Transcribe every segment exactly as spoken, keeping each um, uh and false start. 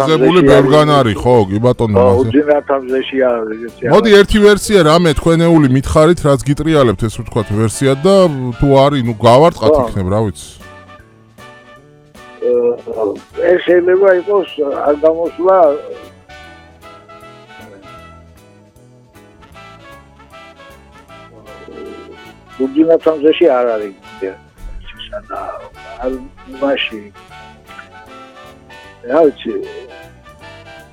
ზებული ბევრგან არის, ხო, კი ბატონო. უძინა თამზეში არის. მოდი ერთი ვერსია რამე თქვენეული მითხარით, რაც გიტრიალებთ ეს ვთქვათ ვერსია და თუ არის, ნუ გავარტყათ იქნებ, რა ვიცი. ეს შეიძლება იყოს არ გამოსვლა უძინა თამზეში არ არის. და არ მაშინ რა ვიცი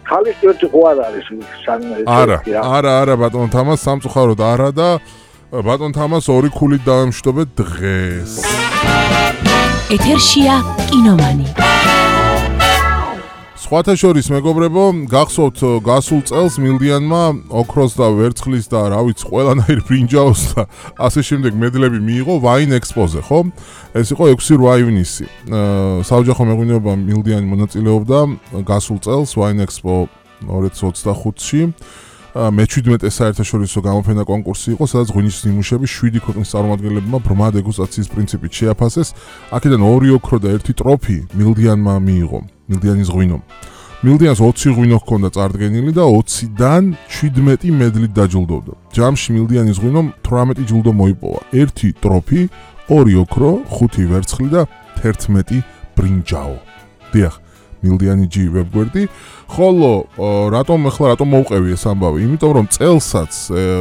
ხალის ერთი ხო არ არის არა არა არა ბატონ თამას სამწუხაროდ არა და ბატონ თამას ორი ქულით დავემშვიდობეთ დღეს ეთერშია კინომანი სხვათა შორის მეგობრებო გახსოვთ გასულ წელს მილდიანმა ოქროს და ვერცხლის და რა ვიცი ყველანაირ ბრინჯაოს და ასე შემდეგ მედლები მიიღო ვაინ ექსპოზე ხო ეს იყო ექვსი რვა ივნისი საოჯახო მეღვინეობა მილდიანი მონაწილეობდა გასულ წელს ვაინ ექსპო ორი ათას ოცდახუთში მეჩვიდმეტე საერთაშორისო გამოფენა კონკურსი იყო სადაც ღვინის ნიმუშები შვიდი ქვეყნის წარმომადგენლებმა ბრმა დეგუსტაციის პრინციპით შეაფასეს აქედან ორი ოქრო და ერთი ტროფი მილდიანმა მიიღო მილდიანის ღვინომ. მილდიანს ოცი ღვინო ჰქონდა წარდგენილი და ოციდან შვიდმეტი მედლით დაჯილდოვდა. ჯამში მილდიანის ღვინომ თვრამეტი ჯილდო მოიპოვა. ერთი ტროფი, ორი ოქრო, ხუთი ვერცხლი და თერთმეტი ბრინჯაო. დიახ, მილდიანი ჯი ვებგვერდი. ხოლო რატომ ახლა რატომ მოვყევი ეს ამბავი? იმიტომ რომ წელსაც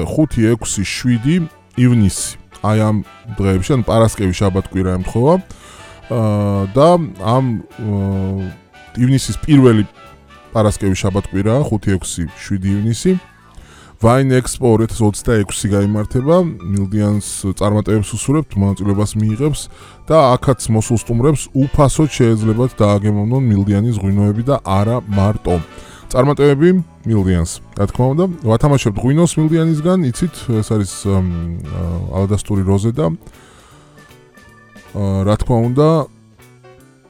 ხუთი, ექვსი, შვიდი ივნისი აი ამ დღეებში ან პარასკევი შაბათ-კვირა ემთხვევა და ამ ივნისის პირველი პარასკევი შაბათ-კვირა ხუთი, ექვსი, შვიდი ივნისი ვაინ ექსპო ორი ათას ოცდაექვსი გაიმართება მილდიანს წარმატებებს უსურვებთ მონაწილეობას მიიღებს და აქაც მოსულ სტუმრებს უფასოდ შეეძლებათ დააგემოვნონ მილდიანის ღვინოები და არა მარტო წარმატებები მილდიანს რა თქმა უნდა ვათამაშებთ ღვინოს მილდიანისგან იცით ეს არის ალადასტური როზე და რა თქმა უნდა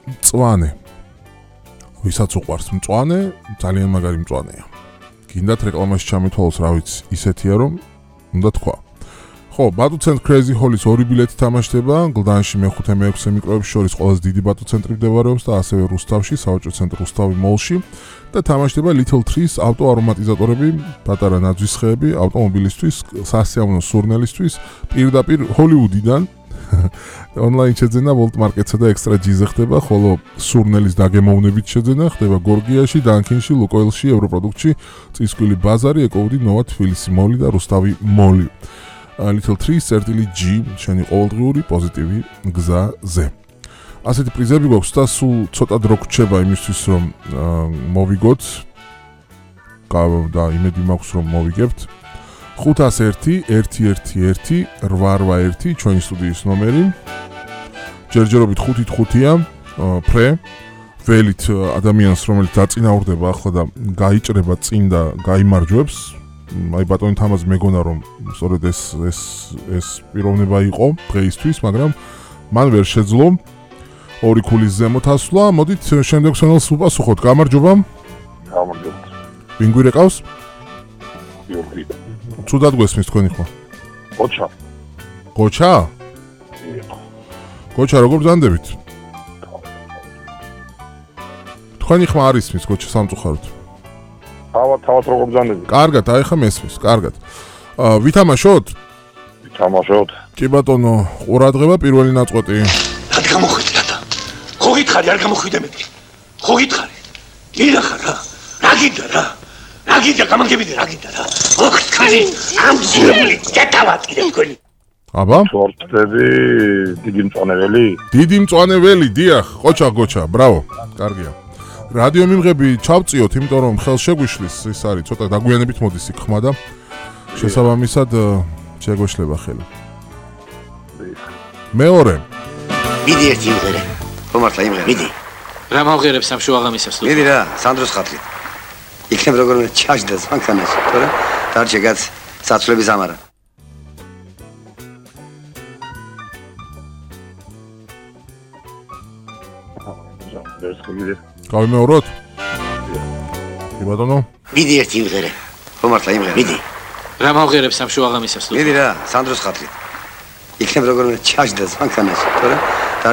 მწვანე ვისაც უყვარს მწვანე ძალიან მაგარი მწვანეა გინდათ რეკლამაში ჩამითვალოს რა ვიცი ისეთია რომ უნდა თქვა ხო ბატუ ცენტრ კრეიზი ჰოლის ორი ბილეთი თამაშდება გლდანში მეხუთე მეექვსე მიკროების შორის ყველაზე დიდი ბატუ ცენტრი მდებარეობს და ასევე რუსთავში საოჭო ცენტრ რუსთავი მოლში და თამაშდება Little Trees ავტო არომატიზატორები პატარა ნაძვისხეები ავტომობილისთვის სასიამოვნო სურნელისთვის პირდაპირ ჰოლივუდიდან ონლაინ შეძენა ვოლტ მარკეტსა და ექსტრა ჯიზე ხდება, ხოლო სურნელის დაგემოვნებით შეძენა ხდება გორგიაში, დანკინში, ლუკოილში, ევროპროდუქტში, წისკვილი ბაზარი, ეკოვდი, ნოვა თბილისი მოლი და რუსთავი მოლი. Little Trees წერტილი G, შენი ყოველდღიური პოზიტივი გზაზე. ასეთი პრიზები გვაქვს და სულ ცოტა დრო გრჩება იმისთვის რომ მოვიგოთ და იმედი მაქვს რომ მოვიგებთ. ხუთას ერთი, ერთი ერთი ერთი, რვა რვა ერთი ჩვენი სტუდიის ნომერი. ჯერჯერობით ხუთით ხუთია, ფრე, ველით ადამიანს რომელიც დაწინაურდება ახლა და გაიჭრება წინ და გაიმარჯვებს. აი ბატონი თამაზ მეგონა რომ სწორედ ეს ეს ეს პიროვნება იყო დღეისთვის, მაგრამ მან ვერ შეძლო ორი ქულის ზემოთ ასვლა. მოდით შემდეგ სონელს უპასუხოთ. გამარჯობა. გამარჯობა. ვინ გვირეკავს? იორგი. ცუდად გვესმის თქვენი ხმა. გოჩა. გოჩა? გოჩა როგორ ბრძანდებით? თქვენი ხმა არ ისმის გოჩა სამწუხაროდ. თავად თავად როგორ ბრძანდებით? კარგად, აი ხა მესმის, კარგად. აა ვითამაშოთ? ვითამაშოთ. კი ბატონო, ყურადღება პირველი ნაწყვეტი. რა გამოხვიდე და? ხო გითხარი, არ გამოხვიდე მე. ხო გითხარი. გინახარ რა? რა გინდა რა? რა გინდა გამარჯვებიდი რა გინდა რა? ოქროქალი ამ ძველი დეტავატირე თქვენი. აბა? სორტები, დიდი მწვანეველი? დიდი მწვანეველი, დიახ, ყოჩა გოჩა, ბრავო. კარგია. რადიო მიმღები ჩავწიოთ, იმიტომ რომ ხელს შეგვიშლის, ის არის ცოტა დაგვიანებით მოდის იქ ხმა და შესაბამისად შეგვეშლება ხელი. მეორე. მიდი ერთი იმღერე. ხო მართლა იმღერე, მიდი. რა მავღერებს ამ შუაღამისას თუ? მიდი რა, სანდროს ხათლით. იქნებ როგორ ჩაჯდა ზვანქანაში, თორე დარჩე კაც საცვლების ამარა. გავიმეოროთ? კი ბატონო. მიდი ერთი იმღერე. ხო მართლა იმღერე, მიდი. რა მავღერებს ამ შუაღამისას თუ? მიდი რა, სანდროს ხათლით. იქნებ როგორ ჩაჯდა ზვანქანაში, თორე